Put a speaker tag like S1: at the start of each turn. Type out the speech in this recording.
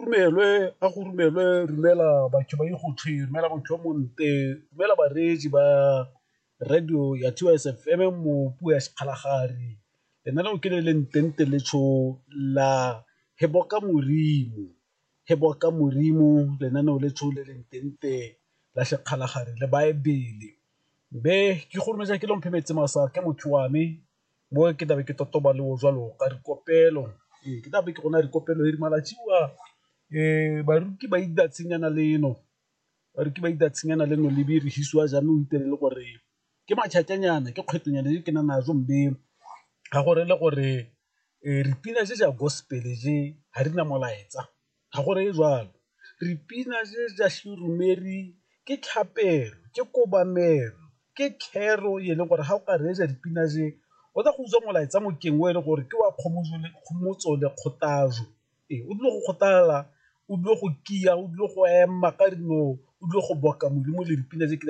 S1: Romelwe a go romelwe romela batho ba go romela motho yo monte romela bareetsi ba radio ya 2S FM mo puo ya Sekgalagadi lenaneo ke le le ntente letsho la He boka Modimo, He boka Modimo lenaneo letsho le le ntente la Sekgalagadi le baebele. Be ke go rometsa ke lomphe metsi masa ke motho wa me mo ke tlabe ke totoba le o jalo ka dikopelo ee ke tlabe ke gona dikopelo e di malatsi a baruti ba ida tshenyana leno baruti ba ida tshenyana leno le dirisiwa jaanong o itelele gore ke matšhatšanyana ke kgwetonyana e ke na najo mme ga gore le gore dipina tse tsa gospel je ga di na molaetsa ga gore e jalo dipina tse tsa sedumedi ke tlhapelo ke kobamelo ke thero e leng gore ga o ka reetsa dipina tse o tla go utswa molaetsa mokeng o e leng gore ke wa kgomotso le kgothatso ee o tlile go kgothala o tlile go kia o tlile go ema ka dinao o tlile go boka modimo le dipina tse ke.